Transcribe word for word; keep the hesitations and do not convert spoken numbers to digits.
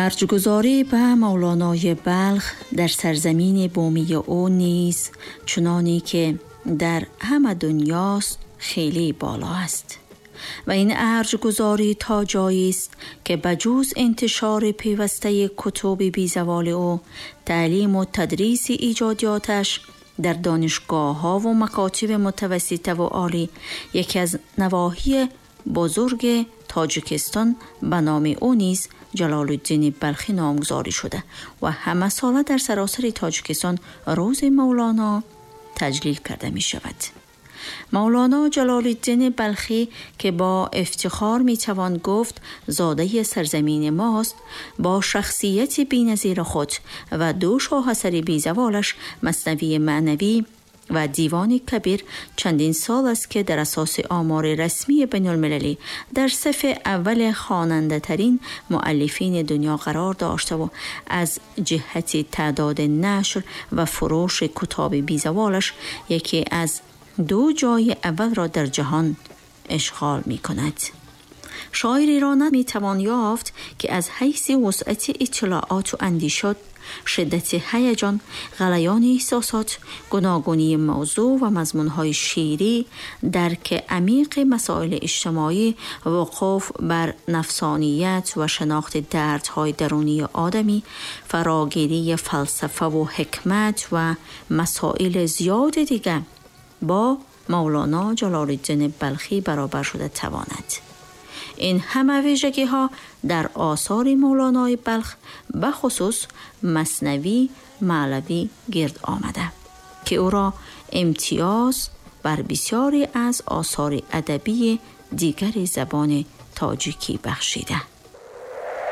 Арҷгузорӣ ба Мавлонои Балх дар сарзамини бумии ӯ низ чуноне ки дар ҳама дунёст хеле боло аст ва ин арҷгузорӣ то ҷоест ки ба ҷуз интишори пайвастаи кутуби безаволи ӯ, таълиму тадриси эҷодиёташ дар донишгоҳҳо ва макотиби мутавассита ва олӣ яке аз навоҳии бузурги Тоҷикистон ба номи ӯ низ Ҷалолуддини Балхӣ номгузорӣ шуда ва ҳамасола дар саросари Тоҷикистон рӯзи Мавлоно таҷлил карда мешавад. Мавлоно Ҷалолуддини Балхӣ ки бо ифтихор метавон гуфт зодаи сарзамини мост, бо шахсияти беназири худ ва ду шоҳасари безаволаш Маснавии маънавӣ ва Дивони Кабир чандин сол аст ки дар асоси омори расмии байналмилалӣ дар сафи аввали хонандатарин муаллифини дунё қарор доштаву аз ҷиҳати таъдоди нашр ва фурӯши китоби безаволаш яке аз ду ҷои аввалро дар ҷаҳон ишғол мекунад. Шоиреро наметавон ёфт ки аз ҳайси вусъати иттилооту андешот, шиддати ҳаяҷон, ғалаёни эҳсосот, гуногунии мавзӯъ ва мазмунҳои шеърӣ, дарки амиқи масоили иҷтимоӣ, вуқуф бар нафсоният ва шинохти дардҳои дарунии одамӣ, фарогирии фалсафа ва ҳикмат ва масоили зиёди дигар бо Мавлоно Ҷалолуддини Балхӣ баробар шуда тавонад. Ин ҳама вижагиҳо дар осори Мавлонои Балх ба хусус Маснавӣ Маълавӣ гирд омада ки ӯро имтиёз бар бисёре аз осори адабии дигари забони тоҷикӣ бахшида.